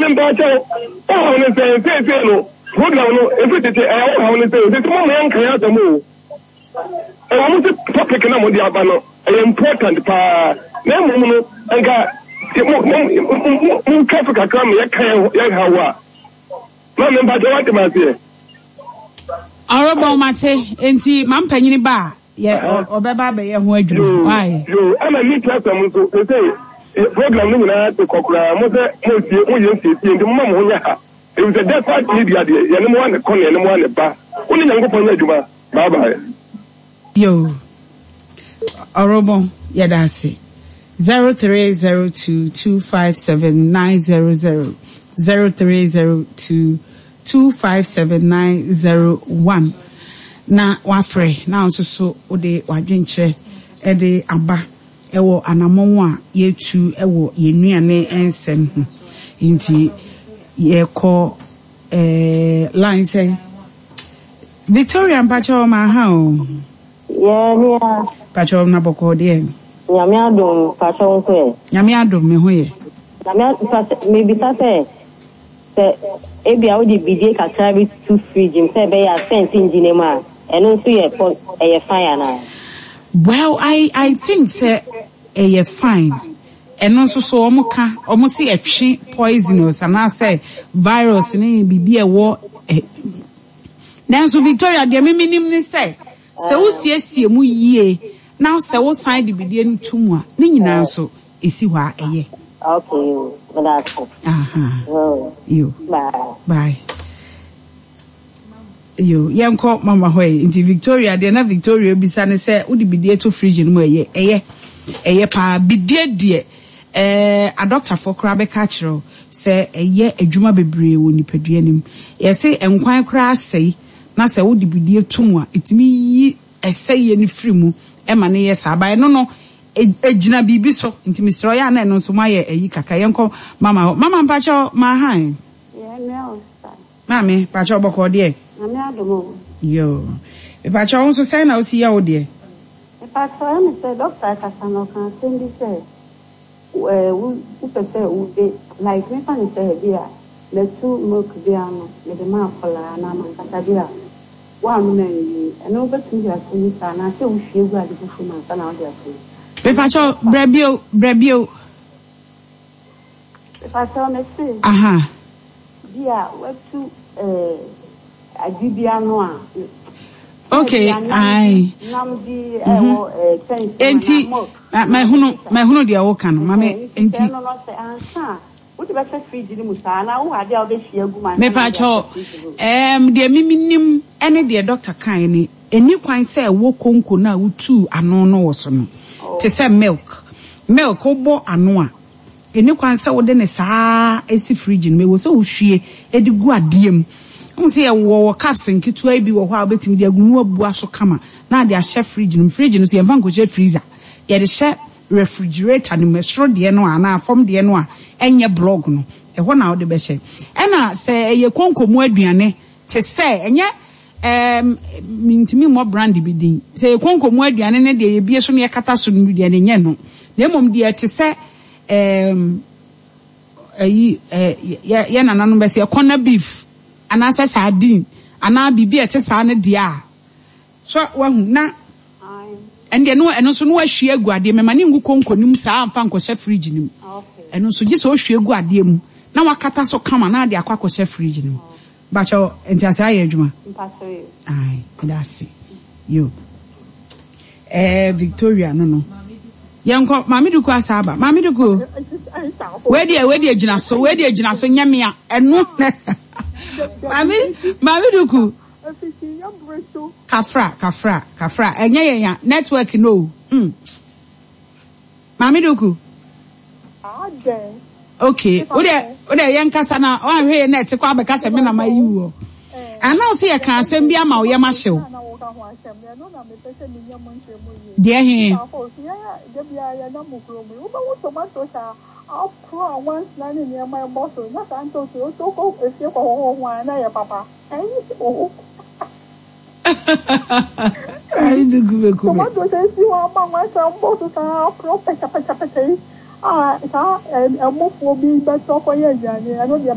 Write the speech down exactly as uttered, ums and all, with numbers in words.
Nti mpaakyɛw, wohaw ne sɛn seesei no program no ɛfiri tete ɛyɛ wohaw ne sɛn sɛ mo ma yɛnka yɛ asɛm o. Ɛwɔ mo sɛ topic na mode aba no ɛyɛ important paa, na mmom no nka montwa so kakra ma yɛka yɛhaw a ma me mpakyɛw wate ma aseɛ. Ɔrebɔn mate, nti ma mpanyini ba a yɛ ɔbɛba abɛyɛ ho adwuma. Why? Yo, ɛna ne ti asɛm nso sɛ program no nyinaa te kɔ koraa mo sɛ mosie moyɛ nsiesie nti moma mo ho nyɛ ha ɛfiri sɛ despite media deɛ yɛne mo ane kɔ ne yɛne mo ane ba wo ne Nyankopɔn nyɛ adwuma. Bye bye. Yo, ɔrebɔn, yɛda ase. zero three zero two two five seven nine zero zero, zero three zero two two five seven nine zero one na wafrɛ na nso so wode wadwenkyerɛ ɛde aba ɛwɔ anammɔn a yɛtu ɛwɔ yɛn nnuane nsɛm ho. Nti yɛkɔ ɛɛ line sɛ Victoria, mpakyɛw, ma ha o. Yɛ nua. Mpakyɛw, na bɔkɔɔ deɛ? Nyame adom, mpakyɛw nso ɛ? Nyame adom, me ho yɛ. Nyame mpakyɛw, mebisa sɛ sɛ ebia wode bidie kakra bi to fridge mu sɛ ɛbɛyɛ a scent ngyina mu a, ɛno nso yɛ pɔ ɛyɛ fine anaa? Well, i i think sɛ ɛyɛ fine. Ɛno nso so ɔmo ka ɔmo si ɛtwe poisonous anaasɛ virus ne biribi a ɛwɔ ɛ. Nanso Victoria deɛ, mímí nim ne sɛ sɛ wosiesie mu yie na sɛ wosan de bidie no to mu a, ne nyinaa nso esi hɔ a ɛyɛ. Okay, yo, meda ase. Aha. Oh, yo. Bye. Bye. Yo, yɛnkɔ mama hɔ yi. Nti Victoria deɛ, na Victoria bisa ne sɛ wode bidie to fridge no mu, ɛyɛ ɛyɛ ɛyɛ paa. Bidie deɛ, ɛɛ adɔktafoɔ koraa bɛka akyerɛ wo sɛ ɛyɛ adwuma bebree wɔ nipadua no mu. Yɛsɛ nkwan koraa asɛe na sɛ wode bidie to mu a, ɛtumi yi ɛsɛeɛ no firi mu ɛma ne yɛ saa ba. Ɛno no egyina biribi so, nti mesrɛ ɔyɛ a na ɛno nso moayɛ ayi kakra. Yɛnkɔ mama hɔ. Mama, mpakyɛw, maahan. Yɛ nua o sa. Maame, mpakyɛw, bɔkɔɔ deɛ? Nyame adom o. Yo, mpakyɛw, wo nso sɛn na wosi yɛ wo deɛ? Mepakyɛw, ɛne sɛ dɔkta kasa no ɔka asɛm bi sɛ ɛɛ wo wopɛ sɛ wode like mefa ne sɛ bi a mɛtu milk bi ano mede ma akɔlaa anaa mankasa bi a woanom anwie, ɛno wobɛtumi de ato mu saa anaasɛ wohwie gu ade foforɔ mu ansa na wode ato mu? Mepakyɛw, brɛ bio, brɛ bio. Mepakyɛw, mese aha bi a watu ɛɛ ade bi ano a okay ai nam bi ɛwɔ ɛɛ kyɛnse mu enti anaa milk. ma- mahunu mahunu deɛ woka no, mame. Enti ɛno no sɛ ansa a wode bɛhyɛ fridge no mu saa anaa wowɔ ade a wobɛhwie agu mu ansa na wode mepakyɛw, ahyɛ fridge no mu? ɛɛm deɛ mimi nim ɛne deɛ dɔkta kan ne ɛni kwan sɛ ɛwɔ konko no a wotuu ano no wɔ so no, te sɛ milk milk wobɔ ano a, ɛni kwan sɛ wode ne saa esi fridge no mu. Ɛwɔ sɛ wohwie ɛde gu adeɛ mu. Wohu sɛ yɛwɔ wɔ cups nketewa yi bi wɔ hɔ a wobɛtumi de agu mu abua so kama na ade ahyɛ fridge no mu. Fridge no so yɛmfa nkɔhyɛ freezer, yɛde hyɛ refrigerator no mu, ɛsoro deɛ no a anaa fam deɛ no a ɛnyɛ block no, ɛhɔ na wode bɛhyɛ. Ɛna sɛ ɛyɛ konko mu aduane te sɛ ɛnyɛ ɛɛm mintimi mmɔ brand bi din, sɛ ɛyɛ konko mu aduane ne deɛ yɛbie so ne yɛkata so no deɛ ne nyɛ no, na mmom deɛ te sɛ ɛɛm ɛyi ɛɛ yɛ yɛ nananom bɛsɛ yɛ corner beef anaasɛ sardine anaa biribi a ɛte saa no deɛ a so wahu na ɛno deɛ no, ɛno nso no wahwie agu adeɛ mɛma ne ngu konko no mu saa amfa nkɔhyɛ fridge no mu. Okay. Ɛno nso gye sɛ ohwie gu adeɛ mu na wakata so kama na ade akɔ akɔhyɛ fridge no mu. Bakyɛw, nti ase ayɛ adwuma? Mpakyɛw yi. Ai, ɛda ase. Yo, ɛɛ Victoria no no yɛnkɔ Maame Duku asa aba. Maame Duku, wei deɛ wei deɛ gyina so, wei deɛ gyina so nyɛ mea ɛno. Maame maame Duku, kafra, kafra, kafra, ɛnyɛ yɛn ya network no o hmm. Maame Duku, okay, wo deɛ wo deɛ yɛn kasa na wanhwɛ yɛn na ɛte kɔ abɛka sɛ me na ma yi wɔ anaa sɛ yɛka asɛm bi ama wo yɛm ahyew deɛ he. Aporo a wansena ne nneɛma ɛbɔ so na saa ntoto wotɔ kɔ efie kɔ hɔhɔ ho a na yɛ papa ɛyi o. Ayi Duku bɛku me. Tomatoes esi hɔ ama wansena mbɔ so saa aporo pɛkyɛpɛkyɛpɛkyɛ yi a saa ɛmofoɔ bi bɛtɔ kɔyɛ aduane, ɛno deɛ.